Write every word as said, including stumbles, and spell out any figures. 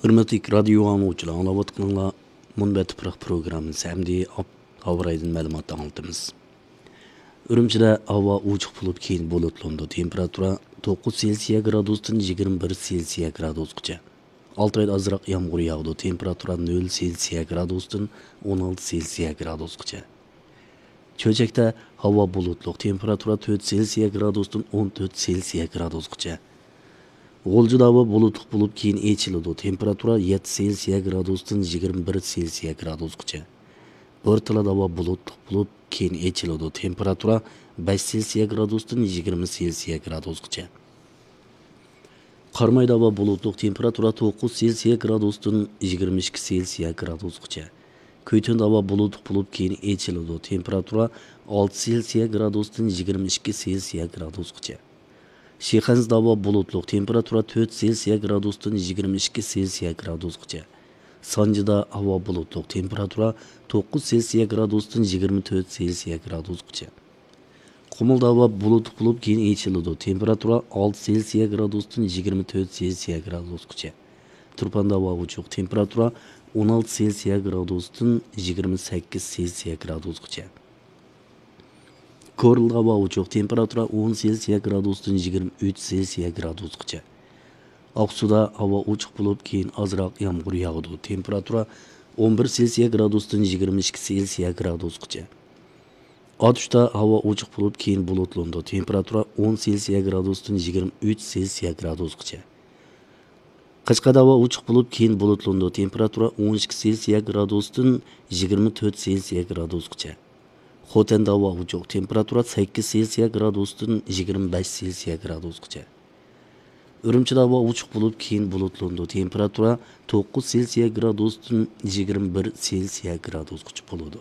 ھۆرمەتلىك رادىيو ئاڭلىغۇچىلار، ئاڭلاۋاتقىنىڭلار مۇنبەت تۇپراق پروگراممىسى. ئەمدى ئاپ-، ھاۋا رايىدىن مەلۇمات ئاڭلىتىمىز. ئۈرۈمچىدە ھاۋا ئوچۇق بولۇپ، كېيىن بۇلۇتلىنىدۇ. تېمپېراتۇرا توققۇز سېلسىيە گرادۇستىن يىگىرمە بىر سېلسىيە گرادۇسقىچە. ئالتايدا ئازراق يامغۇر ياغىدۇ. تېمپېراتۇرا نۆل سېلسىيە گرادۇستىن ئون ئالتە سېلسىيە گرادۇسقىچە. چۆچەكتە ھاۋا بۇلۇتلۇق، تېمپېراتۇرا تۆت سېلسىيە گرادۇستىن ئون تۆت سېلسىيە گرادۇسقىچە. غۇلجىدا ھاۋا بۇلۇتلۇق بولۇپ، كېيىن ئېچىلىدۇ. تېمپېراتۇرا يەتتە سېلسىيە گرادۇستىن يىگىرمە بىر سېلسىيە گرادۇسقىچە. بورتالادا ھاۋا بۇلۇتلۇق بولۇپ، كېيىن ئېچىلىدۇ. تېمپېراتۇرا بەش سېلسىيە گرادۇستىن يىگىرمە سېلسىيە گرادۇسقىچە. قارامايدا ھاۋا بۇلۇتلۇق، تېمپېراتۇرا توققۇز سېلسىيە گرادۇستىن يىگىرمە ئىككى سېلسىيە گرادۇسقىچە. كۈيتۈندە ھاۋا بۇلۇتلۇق بولۇپ، كېيىن ئېچىلىدۇ. تېمپېراتۇرا ئالتە سېلسىيە گرادۇستىن يىگىرمە ئىككى سېلسىيە گرادۇسقىچە. شىخەنزىدە ھاۋا بۇلۇتلۇق، تېمپېراتۇرا تۆت سېلسىيە گرادۇستىن يىگىرمە ئىككى سېلسىيە گرادۇسقىچە. سانجىدا ھاۋا بۇلۇتلۇق، تېمپېراتۇرا توققۇز سېلسىيە گرادۇستىن يىگىرمە تۆت سېلسىيە گرادۇسقىچە. قۇمۇلدا ھاۋا بۇلۇتلۇق بولۇپ، كېيىن ئېچىلىدۇ. تېمپېراتۇرا ئالتە سېلسىيە گرادۇستىن يىگىرمە تۆت سېلسىيە گرادۇسقىچە. تۇرپاندا ھاۋا ئوچۇق، تېمپېراتۇرا ئون ئالتە سېلسىيە گرادۇستىن يىگىرمە سەككىز سېلسىيە گرادۇسقىچە. كورلىدا ھاۋا ئوچۇق، تېمپېراتۇرا ئون سېلسىيە گرادۇستىن يىگىرمە ئۈچ سېلسىيە گرادۇسقىچە. ئاقسۇدا ھاۋا ئوچۇق بولۇپ، كېيىن ئازراق يامغۇر ياغىدۇ. تېمپېراتۇرا ئون بىر سېلسىيە گرادۇستىن يىگىرمە ئىككى سېلسىيە گرادۇسقىچە. ئاتۇشتا ھاۋا ئوچۇق بولۇپ، كېيىن بۇلۇتلىنىدۇ. تېمپېراتۇرا ئون سېلسىيە گرادۇستىن يىگىرمە ئۈچ سېلسىيە گرادۇسقىچە. قەشقەردە ھاۋا ئوچۇق بولۇپ، كېيىن بۇلۇتلىنىدۇ. تېمپېراتۇرا ئون ئىككى سېلسىيە گرادۇستىن يىگىرمە تۆت سېلسىيە گرادۇسقىچە. خوتەندە ھاۋا ئوچۇق، تېمپېراتۇرا سەككىز سېلسىيە گرادۇستىن يىگىرمە بەش سېلسىيە گرادۇسقىچە. ئۈرۈمچىدە ھاۋا ئوچۇق بولۇپ، كېيىن بۇلۇتلىنىدۇ. تېمپېراتۇرا توققۇز سېلسىيە گرادۇستىن يىگىرمە بىر سېلسىيە گرادۇسقىچە بولىدۇ.